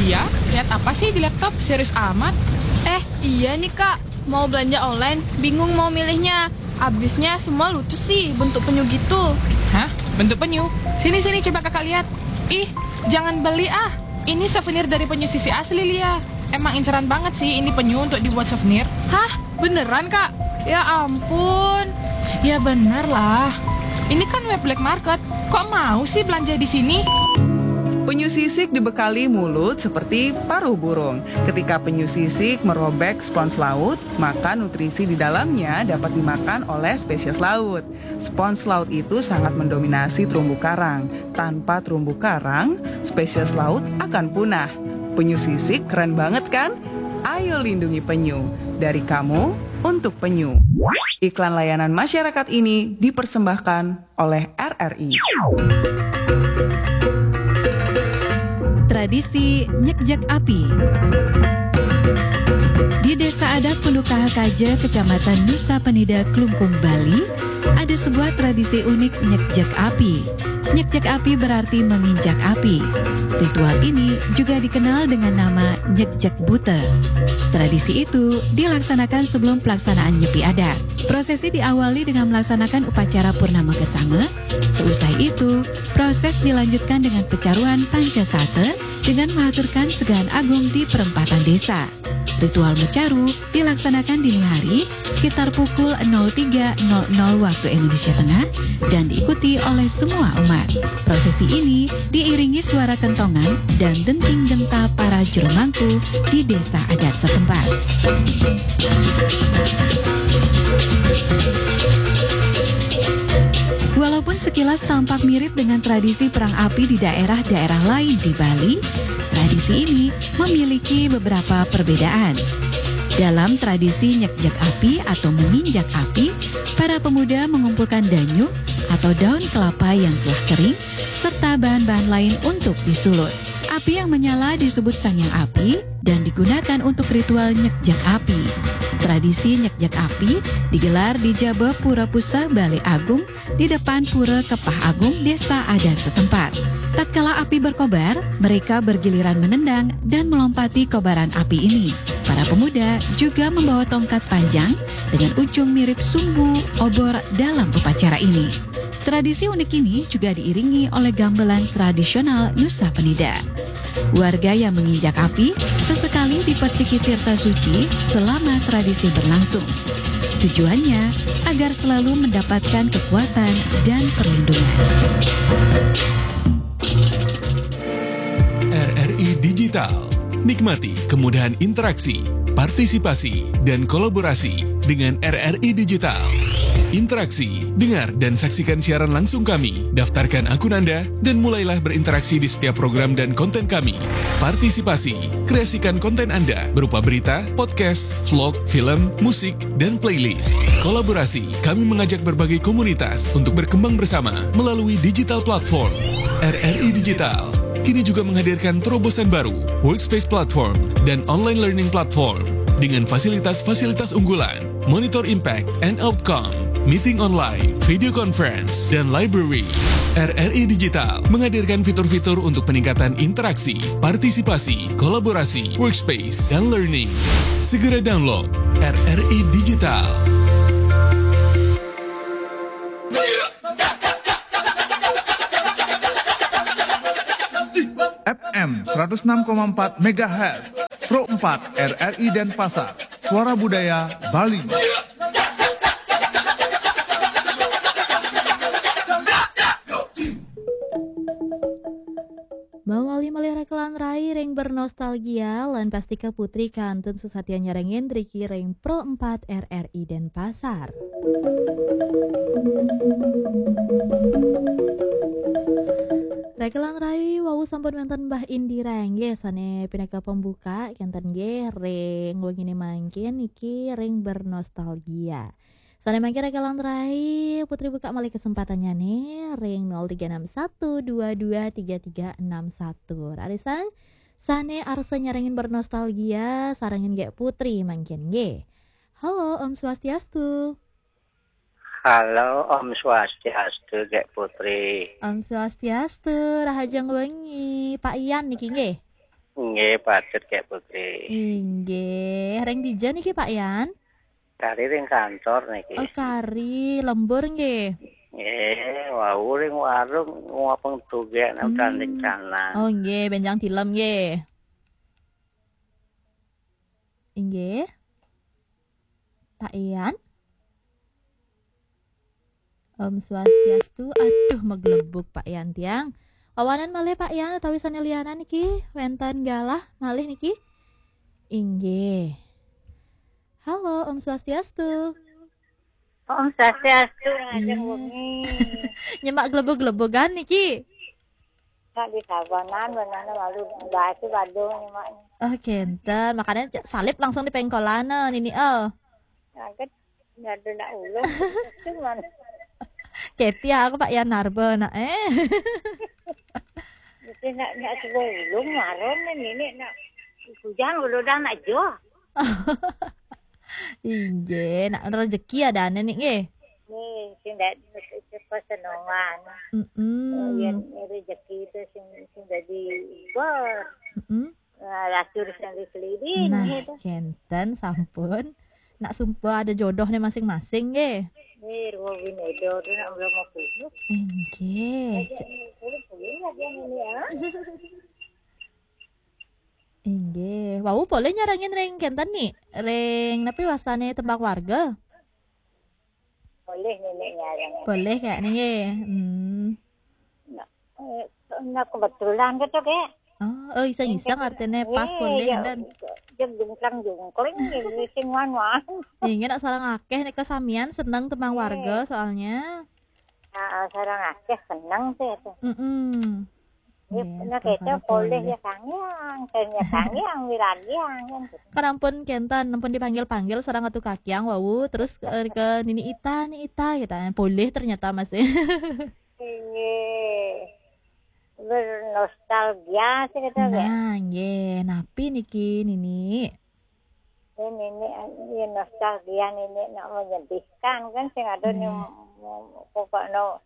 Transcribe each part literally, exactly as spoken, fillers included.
Ya, lihat apa sih di laptop? Serius amat. Eh, iya nih, Kak. Mau belanja online, bingung mau milihnya. Abisnya semua lucu sih, bentuk penyu gitu. Hah? Bentuk penyu? Sini, sini, coba Kakak lihat. Ih, jangan beli ah. Ini souvenir dari penyu sisik asli, Lia. Emang inceran banget sih ini penyu untuk dibuat souvenir. Hah? Beneran, Kak? Ya ampun. Ya bener lah. Ini kan web black market. Kok mau sih belanja di sini? Penyu sisik dibekali mulut seperti paruh burung. Ketika penyu sisik merobek spons laut, maka nutrisi di dalamnya dapat dimakan oleh spesies laut. Spons laut itu sangat mendominasi terumbu karang. Tanpa terumbu karang, spesies laut akan punah. Penyu sisik keren banget kan? Ayo lindungi penyu. Dari kamu, untuk penyu. Iklan layanan masyarakat ini dipersembahkan oleh R R I. Tradisi nyekjek api. Di Desa Adat Pundukaha Kaja, Kecamatan Nusa Penida, Klungkung, Bali, ada sebuah tradisi unik nyekjek api. Nyekjek api berarti menginjak api. Ritual ini juga dikenal dengan nama nyekjek bute. Tradisi itu dilaksanakan sebelum pelaksanaan nyepi adat. Prosesi diawali dengan melaksanakan upacara Purnama Kesanga. Seusai itu, proses dilanjutkan dengan pecaruan Pancasate dengan mengaturkan segahan agung di perempatan desa. Ritual mecaru dilaksanakan dini hari sekitar pukul nol tiga nol nol waktu Indonesia Tengah dan diikuti oleh semua umat. Prosesi ini diiringi suara kentongan dan denting genta para juru mangku di desa adat setempat. Walaupun sekilas tampak mirip dengan tradisi perang api di daerah-daerah lain di Bali, tradisi ini memiliki beberapa perbedaan. Dalam tradisi nyekjek api atau menginjak api, para pemuda mengumpulkan danyu atau daun kelapa yang telah kering serta bahan-bahan lain untuk disulut. Api yang menyala disebut sangyang api dan digunakan untuk ritual nyekjek api. Tradisi nyekjek api digelar di Jaba Pura Puseh, Balé Agung, di depan Pura Kepah Agung, desa adat setempat. Tatkala api berkobar, mereka bergiliran menendang dan melompati kobaran api ini. Para pemuda juga membawa tongkat panjang dengan ujung mirip sumbu obor dalam upacara ini. Tradisi unik ini juga diiringi oleh gamelan tradisional Nusa Penida. Warga yang menginjak api sesekali diperciki tirta suci selama tradisi berlangsung. Tujuannya agar selalu mendapatkan kekuatan dan perlindungan. R R I Digital. Nikmati kemudahan interaksi, partisipasi, dan kolaborasi dengan R R I Digital. Interaksi, dengar, dan saksikan siaran langsung kami. Daftarkan akun Anda dan mulailah berinteraksi di setiap program dan konten kami. Partisipasi, kreasikan konten Anda berupa berita, podcast, vlog, film, musik, dan playlist. Kolaborasi, kami mengajak berbagai komunitas untuk berkembang bersama melalui digital platform. R R I Digital kini juga menghadirkan terobosan baru, Workspace Platform dan Online Learning Platform, dengan fasilitas-fasilitas unggulan, Monitor Impact and Outcome, Meeting Online, Video Conference, dan Library. R R I Digital menghadirkan fitur-fitur untuk peningkatan interaksi, partisipasi, kolaborasi, workspace, dan learning. Segera download R R I Digital. F M seratus enam koma empat megahertz, Pro empat R R I Denpasar, Suara Budaya Bali. Mawali malih rekelan rai ring bernostalgia lan pastika Putri kantun sesatian nyarengin riki ring Pro empat R R I Denpasar. Rekelan rai wau sampun wenten Mbah Indira nggih sane pinaka pembuka kenten nggih ring wengine mangkin niki ring bernostalgia. Sane mangkin rekelan rai Putri buka malih kesempatannya nih ring nol tiga enam satu dua dua tiga tiga enam satu. Rarisang sane arsa nyarengin bernostalgia sarengin Gek Putri mangkin nggih. Halo, Om Swastiastu. Halo, Om Swastiastu, Gek Putri. Om Swastiastu, rahajeng wengi. Pak Ian niki nggih. Nggih, pacet kayak putri. Inggih, ring dija niki, Pak Yan? Kari ring kantor niki. Oh, kari lembur nggih. Nggih, wau ring warung ngopeng tugek nang Hmm. Tanding Canang. Oh, nggih, benjang tilem nggih. Inggih. Pak Yan? Om Swastiastu. Aduh, maglebug Pak Yan tiang. Wawanan malih Pak Yan utawi sané lianan iki wénten galah malih niki? Inggih. Halo, Om Swastiastu. Om Swastiastu, ngajeng Iya. wengi. Nyemak glebug-glebugan niki? Nak di Tabanan, benana malu bahasa Badung nyemak. Oh, kenten. Makanya c-, salib langsung di pengkolan, eh, nini, eh. Angkat, ada nak ulung, cuman. Keti aku Pak Yan Narba, nak, eh. Mesti nak, nak sebuah ulung, marun, nini, nak. Kujang, udah nak joh. Inggih, nak rezeki ada nih, nggih. Nih, sing dak, sing senongan. Mm-mm. Oh, yen rezeki itu sing, sing dadi bor. Mm-mm. Nah, lacur sing diselidin, Nah, gitu. Kenten sampun. Nak sumpah ada jodohnya masing-masing, nggih. Nih, ruang winedo tu nak belum mau putus. Inggih. Aja, Cek- ini, ini, ini, ya. Inggih. Wau boleh nyarengin ring kenten nih. Ring napi wastane tembang warga? Boleh nenek nyareng. Boleh kayak nih, nggih. Hmm. Nah, eh, nah, kebetulan gitu, Kak. Oh, oh, iseng-iseng artine pas Iya, koning iya. Dan. Jeng jungklang-jungkling, ini sing wan-wan. Inggih, nak sareng akeh nih kesamian seneng tembang Iya. warga soalnya. Ah, ah, sareng akeh seneng sih itu. Mm-mm. Iya, Yes, nah, kecap tongkol poleh poleh. Ya kangyang, kan ya kangyang, wiragyang, kan gitu. Kan ampun kenten, ampun dipanggil-panggil sareng atu kakyang wau, terus ke, ke Nini Ita, Ni Ita, gitu. Poleh ternyata masih. Iya. Bernostalgia sih kita, ya. Nah, nggih, napi niki, Nini? Ya, Nini, ya, nostalgia, Nini, nak menyedihkan, kan, sing ada nih, Nggih. Pokoknya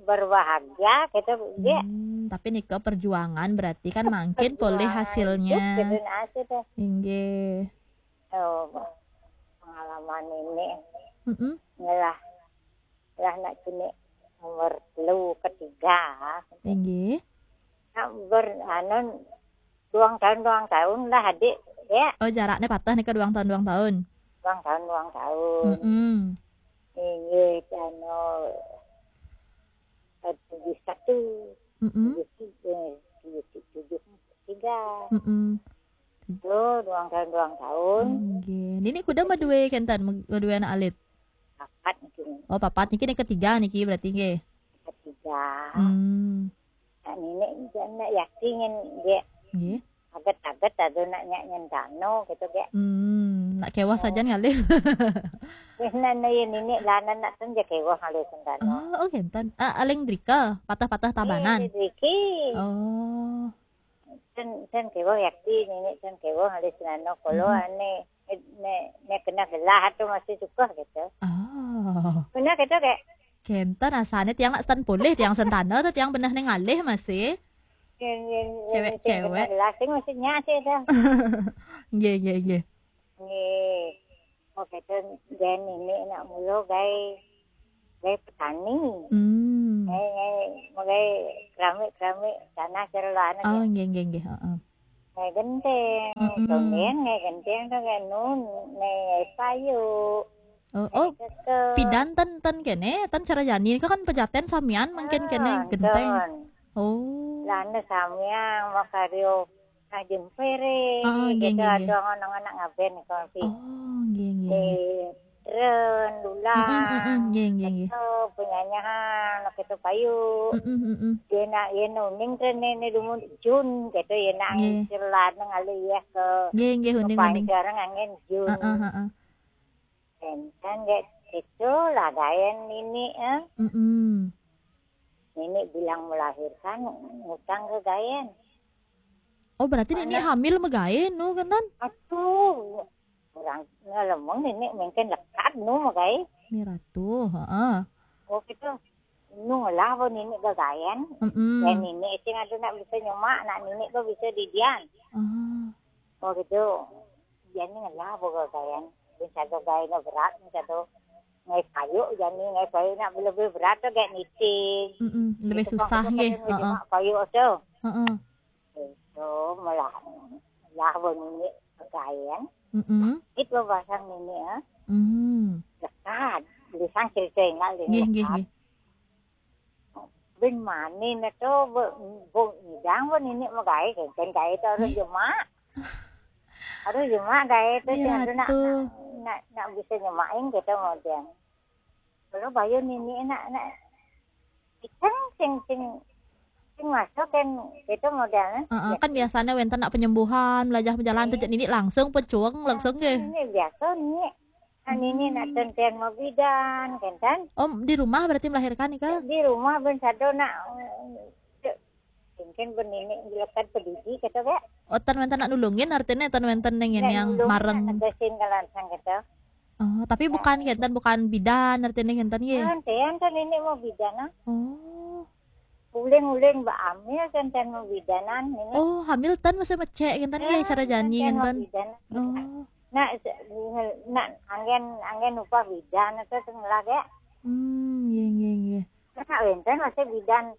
berbahagia, gitu, ya. Hmm, tapi nika perjuangan berarti kan mangkin poleh Perjuangan hasilnya. Hidup, gitu, nah, sih, teh. Inggih. Oh, pengalaman ini. Mm-mm. Ngelah, lah nak kini nomor telu ketiga. Inggih. Nak ber, anu, duang tahun, duang tahun lah, adik, ya. Oh, jaraknya patah nih ke duang tahun, duang tahun. Duang tahun, duang tahun. Mm-mm. Inggih, anu, eh, tujuh satu. Mm-mm. Tujuh tiga, tujuh, tujuh tiga. Mm-mm. Tuh, duang tahun, duang tahun. Inggih. Nini kuda madue kenten, madue anak alit? Papat niki. Oh, papat niki, nih ketiga niki berarti nggih. Ketiga. Hmm. Nah, nini nak yakin dia. Nggih. Aget-aget ada nak nyak nyentano gitu, Gek. Hmm, nak kewah Oh. sajan ngalih. Wis nana ya nini lanan nak ten ya kewah ngalih sentano. Oh, oh kenten. Ah, aling drika, patah-patah tabanan. Iya, driki. Oh. Ten, ten kewah yakti nini ten kewah ngalih sentano. Kalau Mm-mm. ane ne, ne kena gelah tu masih suka gitu. Oh. Kena gitu, Gek. Kenten asane tiang nak ten poleh, tiang sentana tu tiang beneh ning ngalih masih. Yen, yen, yen Cewek-cewek. Sing bener lah, sing mesti nyak sih dah. Nggih, nggih, nggih. Nggih. Oke, ten jen ini nak mula gawe, gawe petani. Hmm. Gawe, gawe, gawe keramik-keramik tanah cara lah anak Oh, ya. Nggih, nggih, nggih. Heeh. Gawe genteng, Mm-mm. Tonggen gawe genteng tu gawe nun, gawe payu. Oh, oh, Gawe keke. Pidan ten, ten kene, ten cara jani kan pejaten samian mangkin kene Ah, genteng. Ten. Oh. Lana samian makaryo Nah, jempere, Oh, nggih, gitu, nggih, nggih. Ada anak-anak ngaben kopi. Oh, nggih, nggih, nggih. Ren, dulang, Mm-mm, mm-mm, nggih, nggih, nggih. Gitu, penyanyahan, gitu, payu. Mm-mm, mm-mm. Dia nak, dia nuning tren ni, ni dumun Jun, gitu, dia nak Nggih. Celan ngalih ya ke Nggih, nggih, uning, uning. Pancar ngangen Jun. Heeh, heeh. Enten gek gitu lah gayen nini, eh. Mm-mm. Nini bilang melahirkan ngutang ke gayen. Oh, berarti nini Anak. Hamil megayen, nu, kenten? Aduh, orang ngelemong nini mungkin lekat nu megayen. Miratu, heeh. Oh, gitu. Nung lah bo nini gagayan. Mm-mm. Ya nini sing ada nak bisa nyemak, nak nini ko bisa didian. Ah. Oh gitu. Jadi ngelah bo gagayan. Bisa do gaya na berat, bisa do ngai kayu, jadi ngai kayu nak lebih berat tu kayak niting. Mm-mm. Lebih Itu susah pang nggih. kita Heeh. Nyemak kayu tu. Heeh. Itu melah lah bo nini gagayan. Mm-mm. Itu bahasa nini ah. Hmm. Lekat. Lisan cerita ingat Nggih, nggih, lekat. Nggih. Bin mani na tu bo bo ngidang bo nini magae kan kan gae tu harus Nggih. Jemak. Harus Jemak gae tu Nggih, sing ada nak Ratu. nak nak bisa nyemakin gitu model. Kalau bayu nini nak nak kita sing sing sing masuk kan gitu model. Heeh, kan biasanya wenten nak penyembuhan, belajar berjalan Nggih. Tejak nini langsung pecuang langsung nggih. Ini biasa ni. Nah, nini nak Hmm. tenten mau bidan kan kan. Oh, di rumah berarti melahirkan nih kak? Di rumah ben sado nak mungkin ben nini lekat pedidi kata kak. Oh, tan wenten nak nulungin artinya tan wenten dengan Nak yang nulung, mareng. Nak negesin ke lansang gitu. Oh, tapi bukan kenten bukan bidan artinya kenten nggih. Kan tenten nini mau bidan ah. Oh. Uling-uling ba amil tenten mau bidanan nini. Oh, hamil tan masih mecek kenten nggih cara jani Tenten mau kenten. bidan. Oh. Nak nak anggen anggen upah bidan itu sing lah kak. Hmm, nggih nggih nggih. Nak wenten masih bidan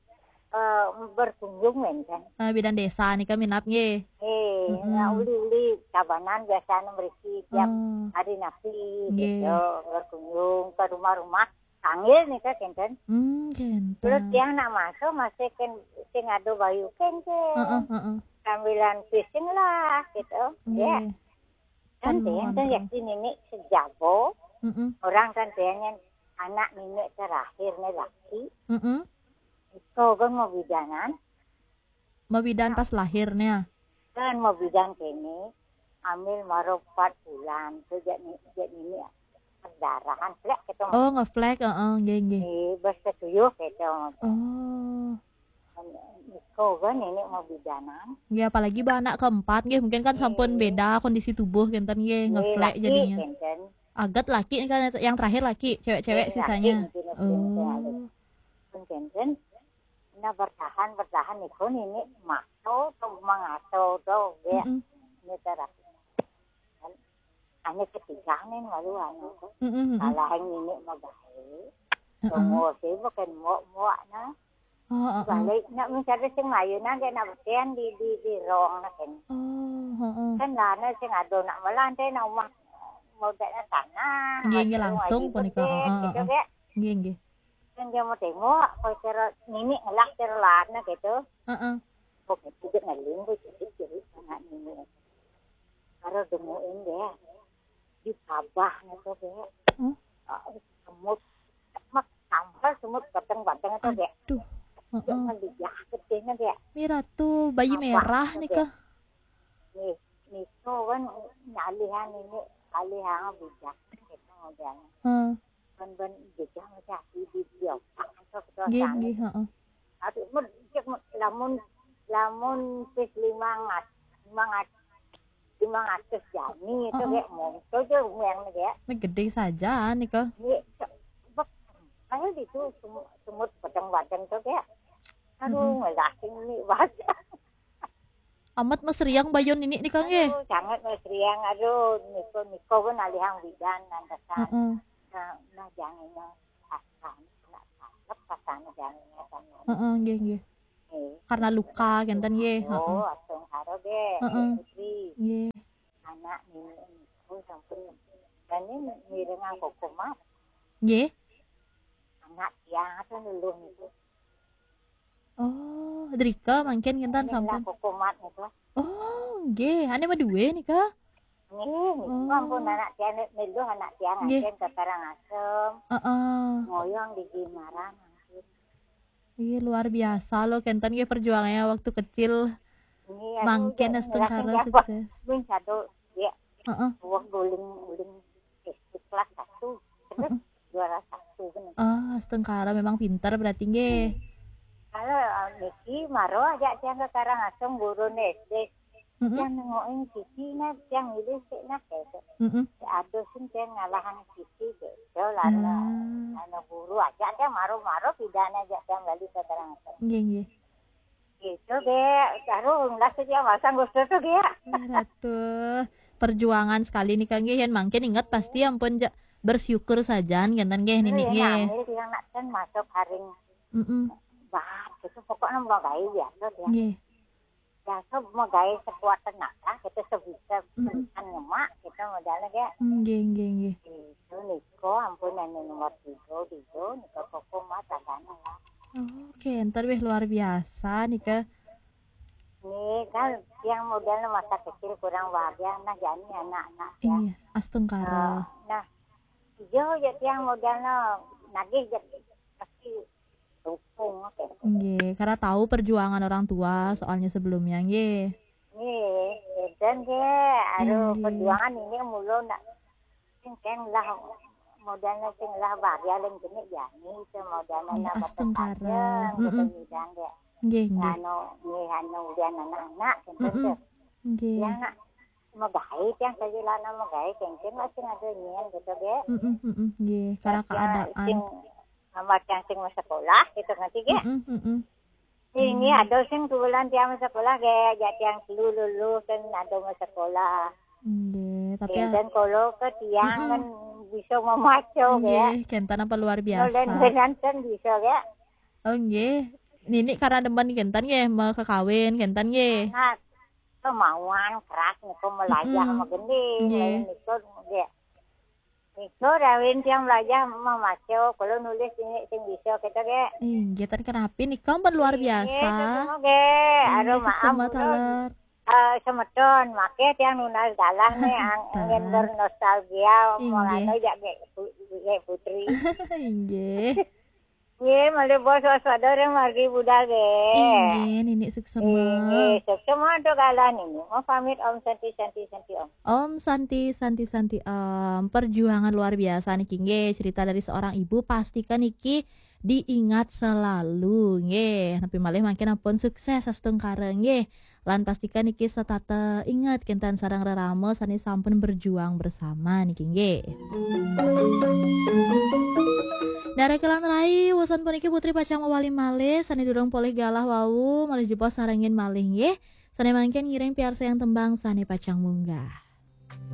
eh, berkunjung wenten. Eh, bidan desa nih kak minap nggih. Eh, Mm-mm. nak uli-uli kabanan biasanya mereka tiap Oh. hari napi Nggih. gitu berkunjung ke rumah-rumah. Tanggil nih kak kenten. Hmm, Terus kenten. Tiang nak masuk masih kan sing ada bayu kenten. Heeh, heeh. Sambilan pising lah gitu. Ya. Nggih. Kan Kan Tiang kan monro. Yakti nini sejabo. Mm-mm. Orang kan Tiang yang anak nini terakhir nih laki. Mm-mm. Itu kan mau bidanan. Mabidan pas lahirnya. Kan mau bidan kini. Ambil maro empat bulan tu jadi jadi nini perdarahan plek gitu. Oh, ngeflag, heeh, nggih nggih. Eh, bersetuju gitu. Oh. Iko kan ini mau bidanan. Nggih, apalagi ba anak keempat nggih, mungkin kan sampun Nggih. Beda kondisi tubuh kenten nggih, Nggih, ngeflag laki jadinya. Kenten. Agat laki nih kan yang terakhir laki, cewek-cewek Nggih, sisanya. Laki, mungkin, mungkin, Oh. Pun kenten. Nah bertahan bertahan iko ini maso tu mangaso tu ya. Mm-mm. Ini terakhir. Hanya ketiga nih malu anu tu. Mm-mm, mm-mm. Salah yang ini mau baik. Heeh. Tunggu sih bukan mau mau nah. Oh, heeh. Balik nak mencari sing lain aja nak bertian di di di rong nak kan. Oh, heeh. Kan lana sing ada nak melantai nak rumah mau dak tanah. Nggih, nggih, Ada langsung rumah punika, gede, heeh, gitu heeh. Kak. Nggih nggih. Kan dia mau tengok, kau cara nini ngelak cara lana gitu. Heeh. Kau gitu dia ngeling, kau jadi jadi anak nini. Baru demuin dia di tabah gitu dia. Hmm? Ah, semut, mak tampal semut batang-batang itu dia. Aduh. Dia Heeh. melihat gedenya dia. Miratu bayi Apa merah itu nih kak. Nih, nih tuh kan nyalihan ini, nyalihan bijak gitu modelnya. Heeh. Kan ben bijak macam di di dia. Itu kita Nggih sana. Nggih, heeh. Tapi mun cek mun lamun lamun pis lima ngat lima ngat lima ratus jani itu Heeh. Kayak mau itu aja yang dia. Ini gede saja nih kak. Ini bek ayo itu semut semut batang-batang tuh Kayak. Aduh, Mm-mm. Ngelasing ini banget. Amat mesriang bayon ini nih kak nggih. Aduh, sangat mesriang. Aduh, niko niko pun alihang bidan lantasan. Heeh. Nah, nah jangan yang pasan, nak cakep pasan jangan sama. Heeh, nggih nggih. Eh, Karena luka kenten nggih. Heeh. Oh, asung karo deh, Heeh. Putri. Nggih. Anak nini itu sampun dan ini mirengan kokomat. Nggih. Anak tiang itu luluh itu. Oh, drika mangkin kenten Ini sampun. Kokomat itu. Oh, nggih. Ane madue nih kak. Nih, Oh. ampun anak tiang luluh anak tiang Nggih. Ancen ke Karangasem. Heeh. Ngoyong di Gimaran. Iya luar biasa loh kenten nggih perjuangannya waktu kecil. Ini Mangkin aku astungkara ngerasain sukses. Min satu ya Heeh. Wah guling guling S D kelas satu. Terus juara satu bener. Ah, astungkara memang pintar berarti nggih. Kalau uh, Niki maro aja tiang ke Karangasem guru S D. Heeh. Tiang nengokin Siti nah tiang milih sih nah gitu. Heeh. Aduh sih tiang ngalahan Siti gitu lah. Ah. Anu guru aja tiang maro-maro pindah Sana aja yang balik ke terang. Nggih, nggih. Gitu ge, taruh ulah saja masang gusto tuh ge. Ih, Ratu. Perjuangan sekali nih Kang nggih, yén mangkin inget pasti ampun ja, bersyukur saja kénten nggih Nini nggih. Hamil dia nak kan masuk haring Mm-mm. Bah, gitu pokoknya mau gawe biasa dia. Nggih. Biasa mau gawe sekuat tenaga, gitu sebisa Mm-mm. Kan nyemak, gitu modalnya ge. Nggih, nggih, nggih. Itu niko ampun anu nomor tiga, tiga, niko koko mah tagana lah. Oke, ntar wih luar biasa nih ke. Ini kan yang modalnya masa kecil kurang bahagia, nah jadi anak-anak ya. Iya, astungkara. Nah, hijau aja tiang modalnya nagih jadi pasti dukung oke. Nggih, karena tahu perjuangan orang tua soalnya sebelumnya nggih. Nih, dan ge, aduh Nggih. Perjuangan ini mulu nak sing lah modalnya sing lah bahagia lain jenis ya. Ini itu modalnya Iya, nambah astungkara. Panjang, gitu Mm-mm. Widang ge. Nggih, nggih. Anu, nih anu udah anak-anak gitu Mm-mm. tuh. Nggih. Yang nak megai yang tadi lana megai kengkeng masih ada nyian gitu ge. Mm-mm, mm-mm, nggih, karena Yang keadaan. Sing amat yang sing mau sekolah gitu ngerti ge. Mm-mm, mm-mm. Ini ada sing bulan tiang sekolah ge, jadi yang lulu lulu kan ada mau sekolah. Nggih, tapi ya, Dan kalau ke tiang Mm-mm. Kan bisa memaco ge. Nggih, kénten apa luar biasa. Nulen benan kan bisa ge. Oh nggih. Nini karena demen kénten nggih, mau kekawin kénten nggih. Nah, kemauan keras niku melajah Mm-mm. sama gending, Nggih. lain niku ge. Niku rawin tiang melajah memaco, kalau nulis ini sing bisa kita ge. Inggih, ten kenapi nika pun luar biasa. Oke, aduh Inggih, maaf suksma ulun. Taler. Eh, semeton, make tiang nunas galah nih, ang- Tah. Angin bernostalgia, Inggih. Mengano ya ge pu- ge putri. Inggih. Ye, malih bos waspada ring margi budal ge. Inggih, Nini suksma. Inggih, suksma untuk galah ini. Mau pamit Om Santi Santi Santi Om. Om Santi Santi Santi Om. Perjuangan luar biasa niki nggih, cerita dari seorang ibu, pastikan niki diingat selalu nggih. Napi malih mangkin ampun sukses astungkara nggih. Lan pastikan niki setata ingat kénten sareng rerama sané sampun berjuang bersama niki nggih. Dara kelan rai, wusan puniki Putri pacang mawali malih, sané durung polih galah wau, malih jebos sarengin malih nggih. Sané mangkin ngiring piarsayang tembang sané pacang munggah.